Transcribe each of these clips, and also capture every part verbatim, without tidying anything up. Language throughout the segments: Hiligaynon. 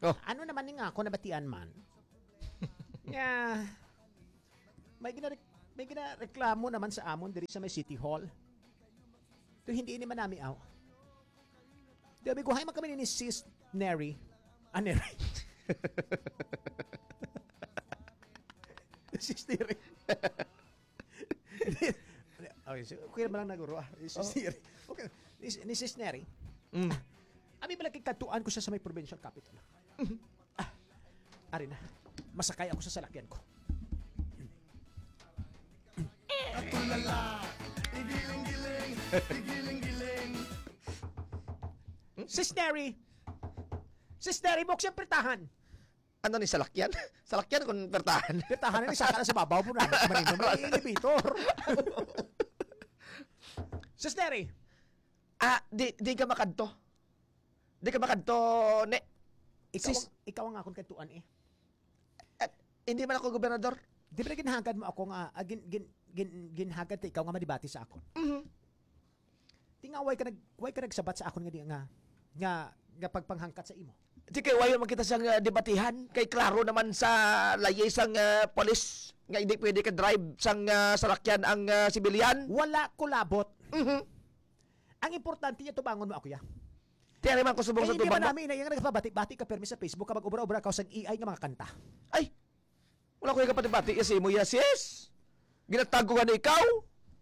Oh. Ano naman ni nga ako nabatian man? Nga, may ginarek-, may ginareklamo naman sa amon diri sa may City Hall. Ito hindi ini manami aw. Di, may guhay man kami ni Sis Neri. Ah, Neri. Sis Neri. Okay, so, okay naman lang naguro, ah. Ni Sis Oh. Neri. Okay. Ni, ni Sis Neri. Mm. Abi bala kay kadtuan ko siya sa may provincial capitol. Mhm. Ah, ari na. Masakay ako sa salakyan ko. Atulala, igiling-giling, igiling-giling. Sis Neri! Sis Neri, buksan pertahan! Ano ni salakyan? Salakyan kung pertahan. Pertahan na ni saka na sa babaw po na. Manindong may elevator. Sis Neri! Ah, di, di ka makadto. Di ka makadto, ne. Ikaw, Sis- ang- ikaw ang akon kadtuan eh. At hindi man ako gobernador. Di ba ginhagad mo ako nga, ah, gin, gin, gin, ginhagad ta ikaw nga madibati sa akon? Mhm. Di nga, way ka nag-, way ka nagsabat sa akon nga di nga, nga, nga pagpanghangkat sa imo? Di kay wayo man kita sang, ah, debatihan. Kay klaro naman sa layis sang, ah, polis nga hindi pwede ka drive sang, ah, salakyan ang, ah, sibilyan. Wala ko labot. Mhm. Ang importante niya, tubangon mo ako, ya. Ti, ari man ko subong Kay sa hindi tubang man mo. Namin ina, yung nagpabati-bati ka permi sa Facebook, kapag obra-obra ka sang A I nga mga kanta. Ay! Wala ko ikapati-bati ya sa imo, ya, sis. Ginatago ka na ikaw.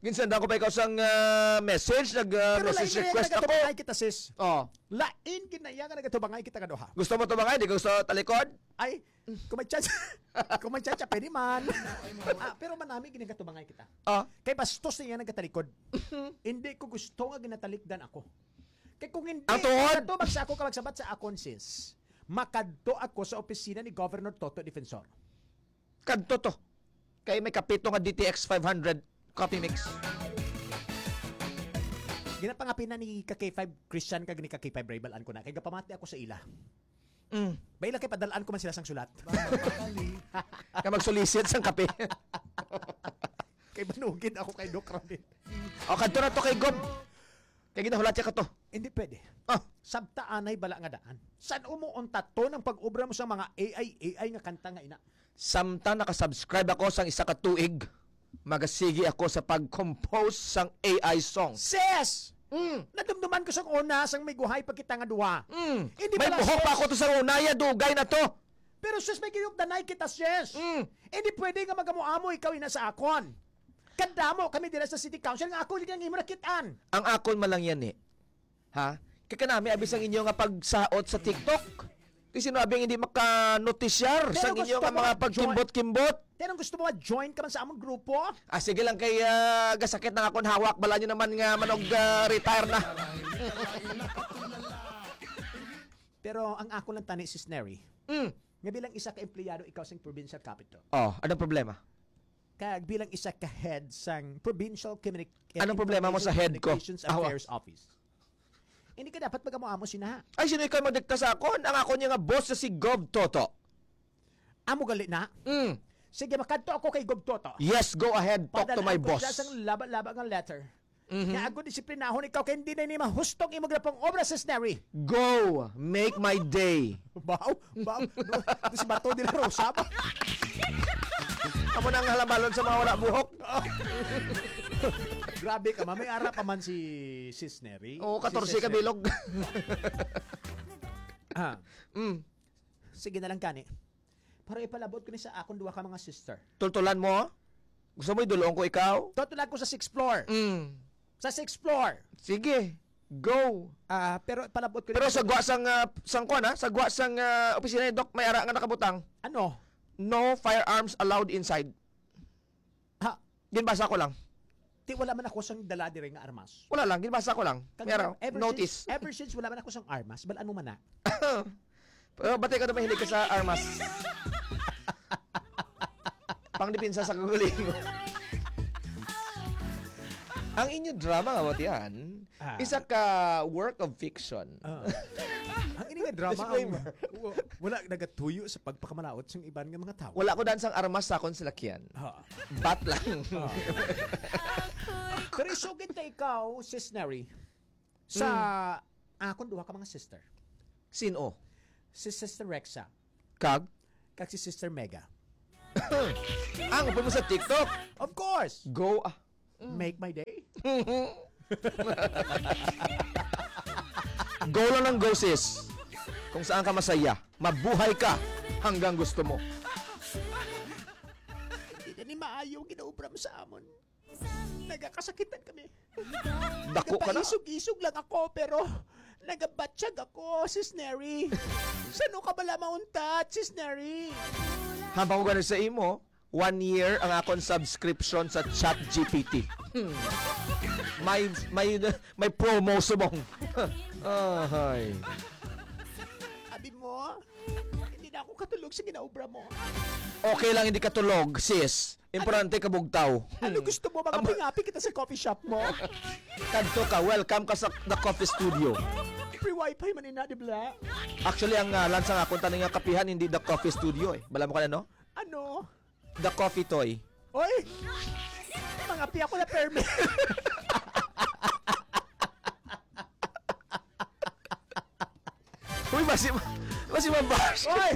Ginsenda ko pa ikaw sang, ah, message, nag, ah, Pero message lain na yan, request ako. Nagkatubangay kita, sis. Oh. Lain gid na iya nga nagkatubangay kita kaduha. Gusto mo tubangay? Di ka gusto talikod? Ay, kung may chance, kung may chance, pwede man. Ah, pero manami gid nagkatubangay kita. Ah. Kay bastos na iya nagkatalikod. Hindi ko gusto nga ginatalikdan ako. Kay kung hindi Ang tuhod. Katubag sa ako, ka magsabat sa akon, sis, makadto ako sa opisina ni Governor Toto Defensor. Kadto to. Kay may kapito nga D T X five hundred coffee mix. Ginapangapina ni ka K five Christian kag ni ka K five Ray, balaan ko na. Kay gapamati ako sa ila. Mm. Baila kay padalaan ko man sila sang sulat. Ka magsulisit sang kape. Kay banugin ako kay Doc Ramil. O, kadto na to kay Gob. Kay ginahulat siya ka to. Hindi pwede. Ah. Sabta anay bala nga daan. San umuon tato ng pag-obra mo sa mga A I, A I nga kanta nga ina? Samtang nakasubscribe ako sang isa ka tuig, magasigi ako sa pag-compose sang A I songs. Sis! Mm. Nadumduman ko sang una, sang may guhay pa kita nga duha. Mm. Hindi May pala, buhok pa sis. Ako to sang una, ya, dugay na to. Pero, sis, may giyugdanay kita, sis. Mm. Hindi pwede nga magamo-amo ikaw ina sa akon. Kadamo kami dira sa City Council nga ako lang imo nakit-an. Ang akon man lang yan, eh. Ha? Kay kanami abi sang inyo nga pagsaot sa TikTok. Kay sino abi ang hindi makanotisyar Pero sang inyo gusto nga mo mga mag-join? Pagkimbot-kimbot? Pero gusto mo ma-join ka man sa among grupo? Ah, sige lang kay, ah, gasakit na akon hawak. Bala nyo naman nga manog, ah, retire na. Pero ang ako lang tani, Sis Neri, Mm. nga bilang isa ka empleyado ikaw sa provincial capital. Oh, anong problema? Kag bilang isa ka head sang Provincial Communi-, Anong problema mo sa head ko? Communications Awa. Affairs Office. Hindi ka dapat mag-amo-amo sina. Ay, sino ikaw magdikta sa akon? Ang ako niya nga boss na si Gov Toto. Amo gali na? Mm. Sige, makadto ako kay Gov Toto. Yes, go ahead. Talk to my Padalaan ko boss. Siya sang laba-laba nga letter. Mhm. Nga ako disiplinahon ikaw kay hindi na ini mahustong imo ginapang obra, Sis Neri. Go! Make my day. Baw, baw. No, no, si Bato de la Rosa ba? Amo na ang halabalon sa mga wala buhok. Grabe ka, ma. May ara pa man si Sis Neri. Oo, Si katorse Sis ka Neri. Bilog. Ah. Mm. Sige na lang kani. Para ipalabot ko ni sa akon duha ka mga sister. Tultulan mo? Gusto mo idulong ko ikaw? Tultulan ko sa sixth floor. Mm. Sa sixth floor. Sige. Go. Ah, pero palabot ko Pero ni sa gwa sang, ah, sang kwan, ha? Sa gwa sang, ah, opisina ni Doc, may ara nga nakabutang. Ano? No firearms allowed inside. Ha? Ginbasa ko lang. Ti, wala man ako sang dala diri nga armas. Wala lang, ginbasa ko lang. Kag May ara, ever notice. Since, ever since wala man ako sang armas, balaan mo man na. Pero bati ko na mahilig ka sa armas. Pangdepensa sa kagalingon. Ang inyo drama nga batian, Ah. Isa ka work of fiction. Ah. Ang ini nga drama, ang Disclaimer. wa-, wala nagatuyo sa pagpakamalaot sang iban nga mga tawo. Wala ko daan sang armas sa akon salakyan. Ha. Bat lang. Ah. Pero isugid na ikaw, Sis Neri, sa Hmm. akon duha ka mga sister. Sin-o? Si Sister Rexa. Kag? Kag si Sister Mega. Ang upod mo sa TikTok? Of course! Go, ah. Make my day. Go lang ng go, sis. Kung saan ka masaya, mabuhay ka hanggang gusto mo. Hindi na ni maayo ang ginaobra mo sa amon. Nagakasakitan kami. Dako ka na. Nagapaisog-isog lang ako, pero nagabatsyag ako, Sis Neri. Sano ka bala mauntat, Sis Neri? Habang ko gani sa imo, one year ang akon subscription sa Chat G P T. May, may, may promo subong. Ahay. Abi mo, hindi na ako katulog sa ginaobra mo. Okay lang hindi katulog, sis. Importante kabugtaw. Ano gusto mo, mga Am- pingapi kita sa coffee shop mo? Kadto ka, welcome ka sa The Coffee Studio. Free wifi man ina, di ba? Actually, ang ngalan sa akon taning nga kapihan, hindi The Coffee Studio eh. Bala mo ka na, no? Ano? The Coffee Toy. Oy! Mangapi ako na permi. Uy, basi, basi mabash. Oy!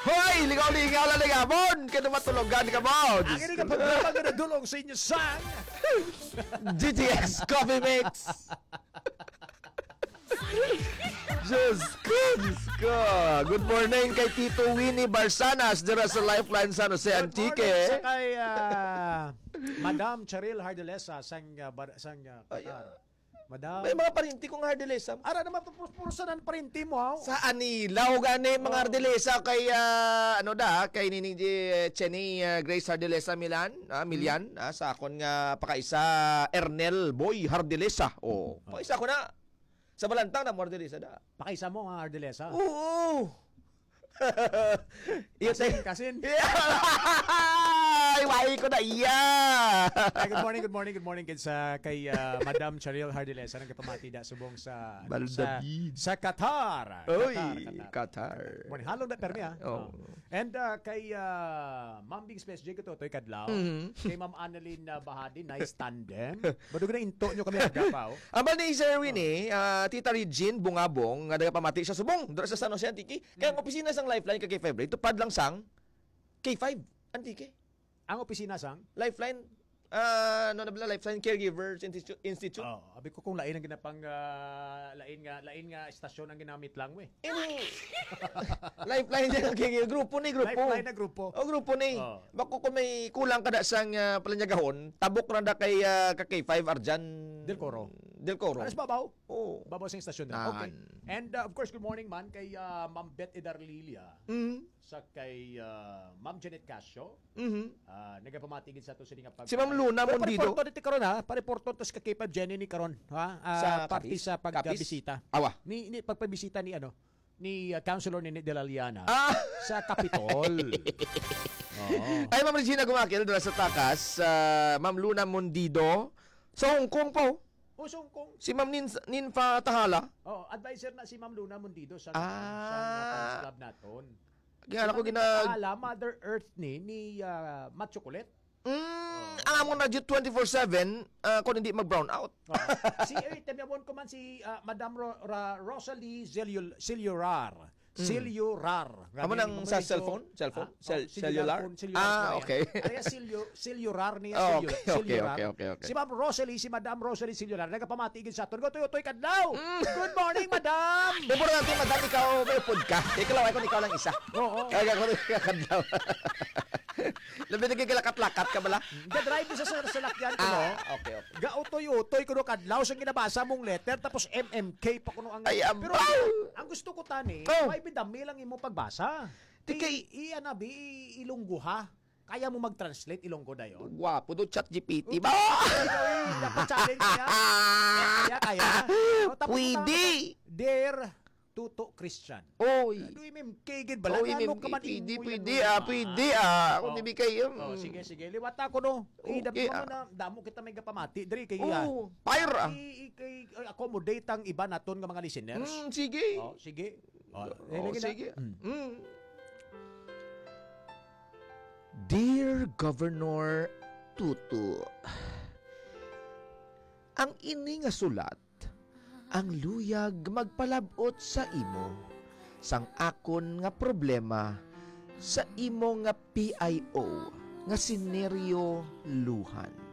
Hoy, lingaw-lingaw lang ni Gabon. Kaya matulogan ka, Bon. Ang ini ka programa nga nadulong sa inyo sa G T S Coffee Mix. Diyos ko, Diyos ko. Good morning kay Tito Winnie Barsanas dira sa Lifeline San Jose, Good morning Antique. Sa kay, ah, Madam Cheryl Hardalesa sang, ah, bar-, sang, ah, Ay, Qatar. Madam. May mga parinti kong Hardalesa. Ara naman to, puro, puro sa nan parinti mo, haw? Sa Anila, o gani, mga Oh. Hardalesa kay, ah, ano da, kay Nini G-, Chenny, ah, Grace Hardalesa Milan, ah, Milian, ah, sa akon nga pakaisa, Ernel Boy Hardalesa. Oh, pakaisa ko na. Sa Balantang na mo Hardalesa da. Pakaisa mo nga Hardalesa? Oo. Iyo, Kasin, te- kasin. Ay, wai ko na iya. Ay, good morning, good morning, good morning, kids, ah, kay, ah, Madam Cheryl Hardilesa, nagapamati da subong sa, ano, sa, Maldavid. Sa Qatar. Oy, Qatar, Qatar. Qatar. Morning, halong da, permi, ah. Oh. Oh. And, ah, kay, ah, Ma'am Bing Space J, katutoy kadlaw. Mhm. Kay Ma'am Annalyn, ah, Bahadi, nice tandem. Badug na into nyo kami, aga pa, oh. Aba ni Sir Winnie, ah, Tita Regine Bungabong, nga nagapamati siya subong, dira sa San Jose, Antique. Kaya ang Mm. opisina sang Lifeline kag K five, tupad lang sang K five, Antique. Ang opisina sang? Lifeline, ah, ano na bala, Lifeline Caregivers Institu-, Institute. Oh, abi ko kung lain ang ginapang, ah, lain nga, lain nga estasyon ang ginamit lang, we. Ini, Lifeline niya, okay, grupo ni, grupo. Lifeline na grupo. Oh, grupo ni. Oh. Bako kung may kulang ka da sang, ah, palinyagahon, tabok ra da kay, ah, ka K five Arjan Del Coro. Del Coro. Alas babaw? Oo. Babaw sing estasyon na. Nan. Okay. And, uh, of course, good morning man kay, uh, Ma'am Beth Edarlilia, Mm. sa kay, uh, Ma'am Janet Casio. Mhm. Uh, nagapamati gid sa ato sini nga pag- Si Ma'am Luna Pero Mondido. Pareporto dito karon, ha? Pareporto to sa kay Pab Jenny ni karon, ha? Ah, Sa parte Capiz? Sa Capiz? Pagbisita. Awa. Ni, ni pagpabisita ni ano, ni, uh, Councilor Nini de la Liana Ah! Sa Capitol. Oo. Ay, Ma'am Regina Gumakil, dala sa Takas, uh, Ma'am Luna Mondido, sa Hong Kong po. O, Song Kong. Si Ma'am Nin-, Ninfa Tahala? Oh, advisor na si Ma'am Luna Mondido sa, Ah. Sa, sa club naton. Kaya Si ako Ma'am gina- Ninfa Tahala, Mother Earth ni, ni, ah, Matt Chocolate. Mm, Oh. Ang among radyo twenty-four seven, ah, kung hindi mag-brown out. Oh. Si, eh, temyawon ko man si, ah, Madam Ro-, Ra-, Rosalie Zeliul-, Zeliurar. Mm. Cellular. Amo Grabe, nang amo sa rin to. Cellphone? Cellphone? Ah, Cell-, oh, cellular cellular? Phone, cellular Ah, phone yan. Okay. Kaya cellu-, cellular niya, Oh, cellu-, okay, okay, cellular. Okay, okay, okay. Si Ma'am Rosalie, si Madam Rosalie Cellular, nagapamati gid sa aton. Gotoy-otoy kadlaw! Mm. Good morning, Madam! Importante, Madam, ikaw, may upod ka. Ikaw lang, ako, ikaw lang isa. Oo. Kaya ako, kadlaw. Labi na gigalakat-lakat ka bala. Ga-drive sa, sa, sa lakyan ko, Ah, no? Okay, okay. Gautoy-utoy ko no kadlaw sa ginabasa mong letter, tapos M M K pa kuno ang Ay, Pero abaw! ang gusto ko tani, Oh. May bidami lang imo pagbasa. Di kay I, i, ano, bi, i, ilunggo ha. Kaya mo mag-translate ilunggo dayon? Gwapo do, chat G P T ba? Dapat challenge niya. Kaya, kaya. O, tapos Pwede. Dear Tuto Christian. Oy. Ano yung M K gid bala? Oy, Ano M K, ka man pwede, imo yan, pwede, ah, ah? Pwede, ah. Ako Oh. Di ba kayo, Oh, mm. Sige, sige. Liwat ako, no. Okay, Idap mo ah. Na, damo kita may gapamati. Diri kay, ah. Oh, fire, ah. I, i, kay, ay, accommodate ang iba naton nga mga listeners. Mm, sige. Oh, sige. Oh, Oh, eh, lagi na. Sige. Mm. Mm. Dear Governor Tuto, ang ini nga sulat ang luyag magpalab-ot sa imo sang akon nga problema sa imo nga P I O nga si Nerio Lujan.